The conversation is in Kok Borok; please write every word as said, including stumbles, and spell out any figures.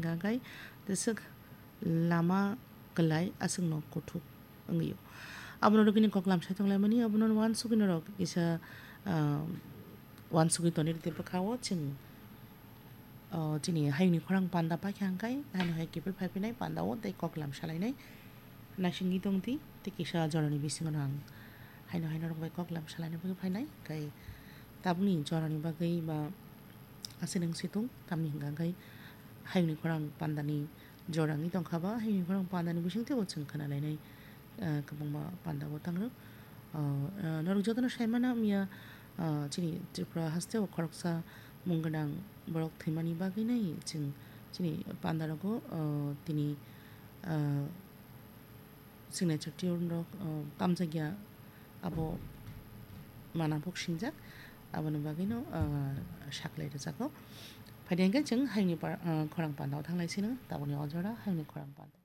Hingkha khe jeswk lama kwlai aswkno kuthuk wngwi-o. Abono rwgwini koklam sai tonglaimani, abono uansugwi norok kisa, ah, uansugwi tonwi rwdi bwkha-o chwng, ah, chini hayungni khorang panda paikha hingkhe haino hai kiphil phaiphinai panda-o tei koklam salainai. Naisingwi tongdi, tei kisa jorani bisingo no ang haino hai norok bai koklam salaina bagwi phainai, tei tabukni jorani bagwi ba aswk nwng situng, tamni hwnkha khe hayungni khorang pandani jora wngwi tongkha ba, hayungni khorang pandani bisingtwi bo chwng khwnalainai, ah, kwbangma panda bo tangrwk. Ah, ah, norok jotono saimano miya, ah, chini Tripura hasteo khoroksa mung gwnang borok thwimani bagwi nai chwng chini panda rogo, ah, tini, ah, signature tune rok, ah, tamjakya abo mana bok singjak, aboni bagwino, ah, saklai rwjago. Phaidi hwnkhe chwng hayungni par-, ah, khorang panda o thanglai sino, tabukni o jora hayungni khorang panda.